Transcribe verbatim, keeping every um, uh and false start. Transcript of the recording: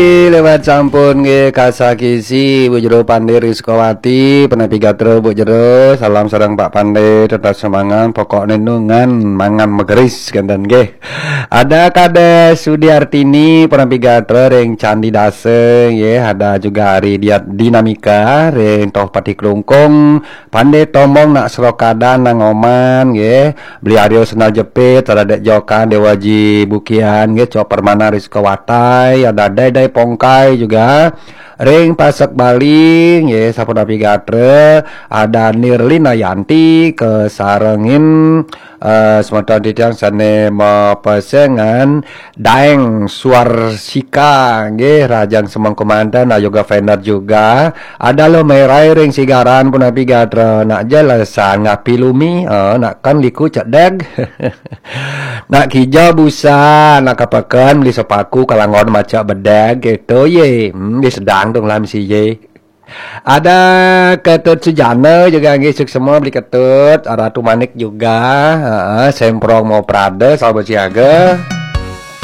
Lewat sampun nggih kasakisi Bu Jero Pande Rizkowati, penapi gatra Bu Jero, salam sareng Pak Pande, tetap semangat, pokokne nungan mangan megeris kenten nggih. Ada Kades Sudiartini, penapi gatra ring Candi Dasa nggih, ada juga Ari Diat Dinamika ring Tohpati Klungkung, Pande Tombong nak Serokadan nang Oman nggih. Beli Aryo Sendal Jepit, ada Dek Jokan Dewaji Bukian nggih, Cok Permana Rizka Watai, ada Dai Dai Pongkai juga. Ring Pasek Bali nggih, sapunapi gatra, ada Nirlina Yanti kesarengin eh, semeton titiang sane mapesengan Daeng Suarsika nggih, Rajang Semeng Komandan, ada Yoga Fener juga. Ada Lo Merai ring Sigaran punapi gatra, nak jelesan ngapi lumi, eh, nak kan liku cedeg. Nak kija busa, nak kapeken beli sepaku kalanggon macak bedeg gitu ye. Hmm, di sedang dong lah misi ye. Ada Ketut Sujana juga nggih, suksma beli Ketut, Ratu Manik juga, heeh, Semprong mau Prada, sahabat siaga.